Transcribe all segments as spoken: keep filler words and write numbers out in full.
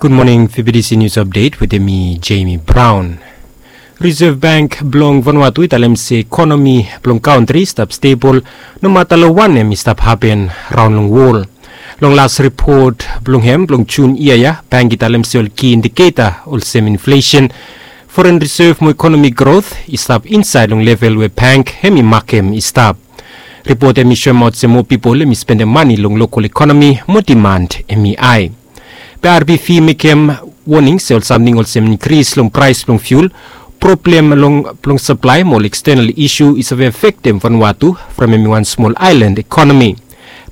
Gud moning, V B T C News Update wetem mi, Jamie Brown. Reserve Bank blong Vanuatu i talem se ekonomi blong kantri i stap stebol nomata long wanem i stap hapen raon long wol. Long las ripot blong hem blong Jun yia ya, bank i talem se ol ki indiketa olsem inflesen, foren resev mo ekonomi grot i stap insaed long level we bank hem i makem i stap. Ripot hem i soemaot se moa pipol hem i spendem mane long lokol ekonomi mo diman hem i hae. Be R B V mekem woning se ol samting olsem inkris long praes blong fiul, problem long blong saplae mo ol ekstenal isu i save afektem Vanuatu from hem i wan smol aelan ekonomi.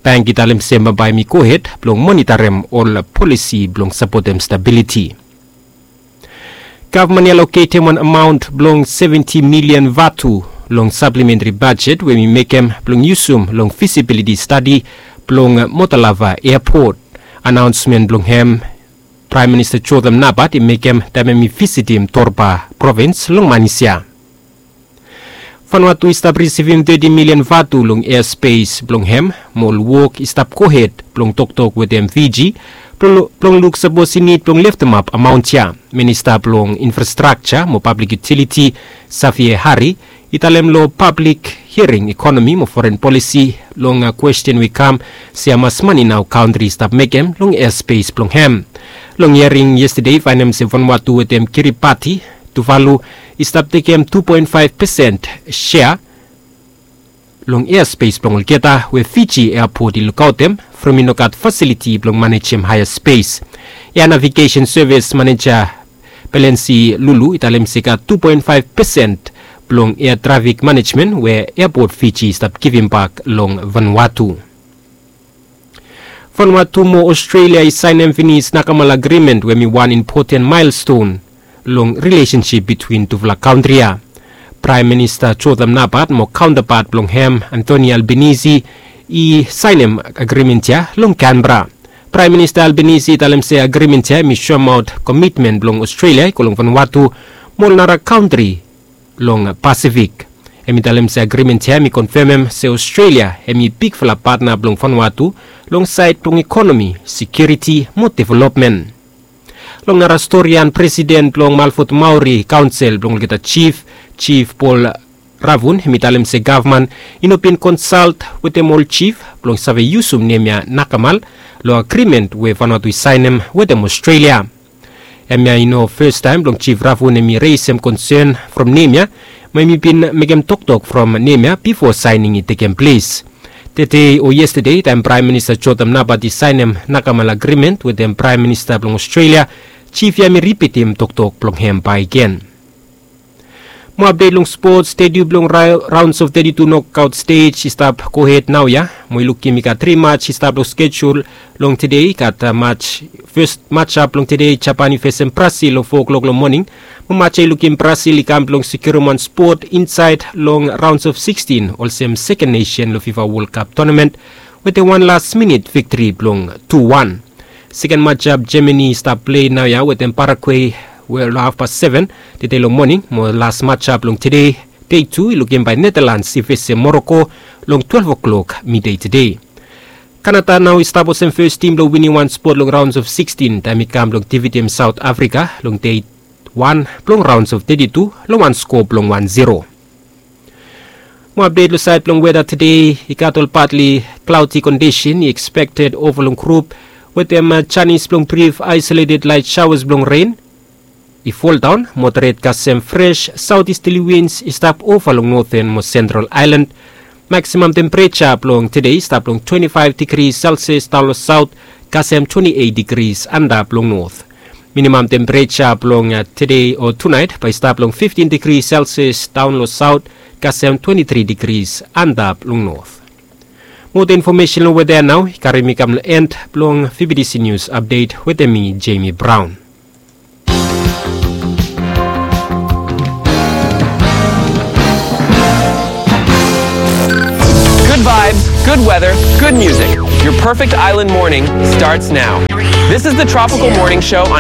Bank i talem se bambae hem i gohed blong monitarem ol polisi blong sapotem stabiliti. Gavman i aloketem wan amaon blong seventi milian vatu long saplementri bajet we hem i mekem blong yusum long fisibiliti stadi blong Motalava eapot. Anaonsmen blong hem Praem Minista Jotham Napat i mekem taem hem i visitim Torba provins long manis ya. Vanuatu i stap risivim teti milian vatu long easpes blong hem mo ol wok i stap gohed blong toktok wetem Fiji blong luk sapos i nid blong leftemap amaon ya. Minista blong Infrastrakja mo Pablik Yutiliti, Xavier Hari, i talem long pablik hiaring ekonomi mo foren polisi long kwesten we i kam se hamas mane nao kantri i stap mekem long easpes blong hem. Long hiaring yestade i faenem se Vanuatu wetem Kiribati, Tuvalu i stap tekem tu poen faef pesen sea long easpes blong olgeta we Fiji eapot i lukaotem from i no gat fasiliti blong manejem haea spes. Ea Navigesen Sevis maneja Belensi Lulu i talem se i gat tu poen faef pesen blong ea trafik manejmen we eapot Fiji i stap givimbak long Vanuatu. Vanuatu mo Ostrelia i saenem finis nakamal agrimen we hem i wan impoten maelston long rilesensip bitwin tufala kantri ya. Praem Minista Jotham Napat mo kaontapat blong hem Anthony Albanese i saenem agrimen ya long Canberra. Praem Minista Albanese i talem se agrimen ya hem i soemaot komitmen blong Ostrelia i go long Vanuatu mo ol nara kantri long Pasifik. Hem i talem se agrimen ya hem i konfemem se Ostrelia hem i bigfala patna blong Vanuatu long saed blong ekonomi, sekiuriti mo developmen. Long nara storian, presiden blong Malfot Maori Kaonsel blong olgeta jif, Jif Paul Ravun, hem i talem se gavman i no bin konsalt wetem ol jif blong save yusum nem ya nakamal long agrimen we Vanuatu i saenem wetem Ostrelia. Hemia i no fastaem blong Jif Ravun hem i resem konsen from nem ya, mo hem i bin mekem toktok from nem ya bifo saening i tekem ples. Tede o yestade taem Praem Minista Jotham Napat i saenem nakamal agrimen wetem Praem Minista blong Ostrelia, jif ya hem i ripitim toktok blong hem bakegen. Mo apdet long spots, teti tu blong raons of teti tu nokaot stej i stap gohed naoia mo i lukim i gat tri maj i stap long skejul. Long tede i gat maj, fes majap blong tede Japan i fesem Brasil long fo klok long moning. Mo maj ya i lukim Brasil i kam blong sekiurim wan spot insaed long raons of sikstin olsem seken nesen long Fifa Wol Kap tonamen wetem wan las minit viktri blong tu wan. Seken majap Jamani i stap plei naoia wetem Paragwe we long hafpas seven tede long moning, mo las majap blong tede, dei tu, i lukim bae Netalans i fesem Moroko long twelef klok midei tede. Kanada nao i stap olsem fes tim blong winim wan spot long raons of sikstin taem i kam blong difitim Saot Afrika long dei wan blong raons of teti tu long wan skoa blong wan ziro. Mo apdet long saed blong weda tede, i gat ol patli klaodi kondisen i ekspekted ova long grup wetem janis blong brif aesoleted laet saoas blong ren i foldaon, moderet kasem fres saotisterli wins i stap ova long noten mo sentral aelan. Maksimam tempereja blong tede i stap long twenti faef digri selsias daon long saot kasem twenti eit digri antap long not. Minimam tempereja blong tede o tunaet bae i stap long fiftin digri selsias daon long saot kasem twenti tri digri antap long not. Moa infomesen long weda ya nao i karim mi kam long en blong V B T C Nius Apdet wetem mi, Jamie Brown. Good vibes, good weather, good music. Your perfect island morning starts now. This is the Tropical Morning Show on